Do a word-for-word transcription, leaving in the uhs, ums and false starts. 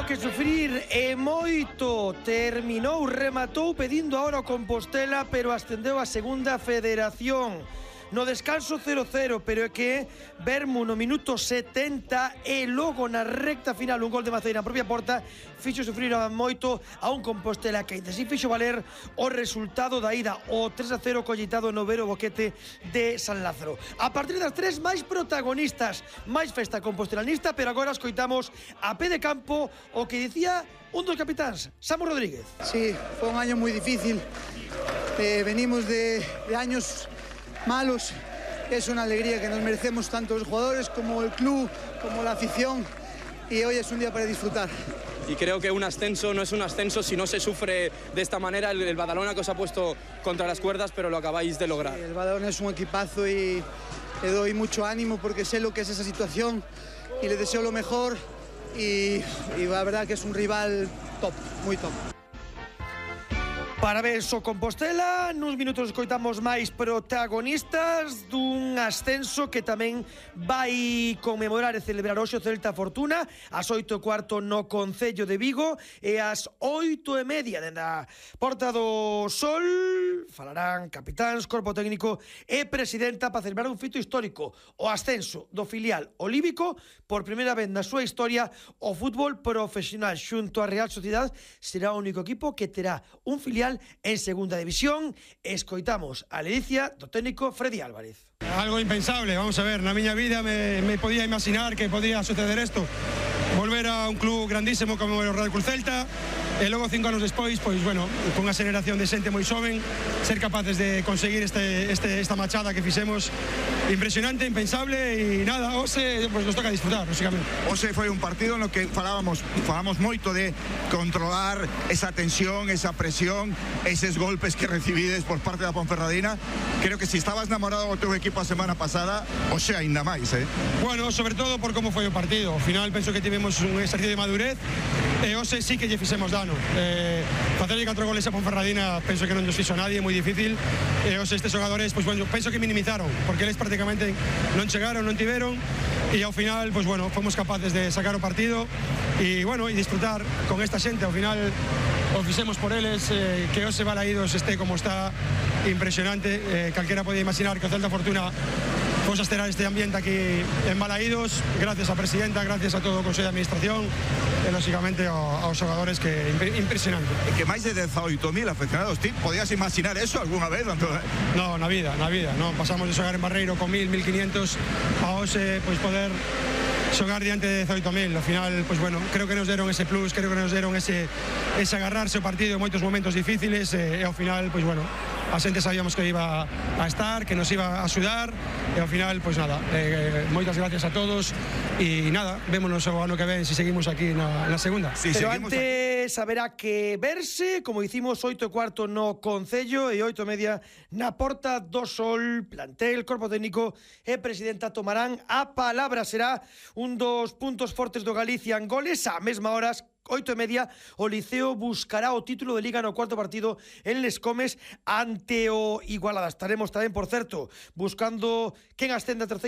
Tivo que sufrir e moito. Terminou, rematou pedindo ahora o Compostela, pero ascendeu a segunda federación. No descanso cero cero, pero é que Vermo no minuto setenta e logo na recta final un gol de Maceira na propia porta fixo sufrir moito a un Compostela que ainda así fixo valer o resultado da ida, o tres a cero collitado no Vero Boquete de San Lázaro. A partir das tres, máis protagonistas, máis festa compostelanista, pero agora escoitamos a pé de campo o que dicía un dos capitáns, Samu Rodríguez. Sí, foi un año moi difícil, eh, venimos de, de años malos. Es una alegría que nos merecemos tanto los jugadores como el club, como la afición, y hoy es un día para disfrutar. Y creo que un ascenso no es un ascenso si no se sufre de esta manera. El, el Badalona que os ha puesto contra las cuerdas, pero lo acabáis de lograr. Sí, el Badalona es un equipazo y le doy mucho ánimo porque sé lo que es esa situación y le deseo lo mejor, y, y la verdad que es un rival top, muy top. Parabéns ao Compostela. Nuns minutos escoitamos máis protagonistas dun ascenso que tamén vai conmemorar e celebrar hoxe o Celta Fortuna ás oito e cuarto no Concello de Vigo, e ás oito e media dende a Porta do Sol falarán capitáns, corpo técnico e presidenta para celebrar un fito histórico, o ascenso do filial olímpico por primeira vez na súa historia. O fútbol profesional xunto á Real Sociedad será o único equipo que terá un filial en segunda división. Escoitamos a ledicia do técnico Freddy Álvarez. Algo impensable, vamos a ver, na miña vida me, me podía imaginar que podía suceder esto, volver a un club grandísimo como o Real Cruz Celta, e logo cinco anos despois, pois bueno, con unha generación de xente moi xoven, ser capaces de conseguir este, este, esta machada que fixemos, impresionante, impensable, e nada, hoxe pues, nos toca disfrutar, lógicamente. Hoxe foi un partido no que falábamos, falábamos moito de controlar esa tensión, esa presión, eses golpes que recibides por parte da Ponferradina. Creo que se si estabas enamorado do teu equipo a semana pasada, hoxe aínda máis, eh? Bueno, sobre todo por como foi o partido. Ao final penso que tivemos un exercicio de madurez, e hoxe sí que lle fixemos dano. Eh, facerlle catro goles a Ponferradina penso que non nos fixo nadie, moi difícil, e hoxe estes xogadores, pues, bueno, penso que minimizaron, porque eles prácticamente non chegaron, non tiveron, e ao final, pues, bueno, fomos capaces de sacar o partido e, bueno, e disfrutar con esta xente. Ao final o fixemos por eles, eh, que hoxe Balaídos este como está, impresionante. Eh, calquera podía imaginar que o Celta Fortuna fose a esterar este ambiente aquí en Balaídos, gracias á presidenta, gracias a todo o Consello de Administración e, lógicamente, aos xogadores, que impresionante. E que máis de dezaoito mil afeccionados, ti podías imaginar eso algunha vez? No, na vida, na vida, non pasamos de xogar en Barreiro con mil, mil quinientos a hoxe, pois poder xogar diante de dezaoito mil. Ao final, pues bueno, creo que nos deron ese plus, creo que nos deron ese, ese agarrarse o partido en moitos momentos difíciles, e, e ao final, pues bueno, a xente sabíamos que iba a estar, que nos iba a axudar, e ao final, pues nada, eh, moitas gracias a todos, e nada, vémonos o ano que ven se si seguimos aquí na, na segunda. Sí, pero antes haberá que verse, como hicimos oito e cuarto no Concello e oito e media na Porta do Sol. Plantel, corpo técnico e presidenta tomarán a palabra. Será un dos puntos fortes do Galicia en goles. A mesma horas, oito e media, o Liceo buscará o título de Liga no cuarto partido en Les Comes ante o Igualada. Estaremos tamén, por certo, buscando quen ascende a terceira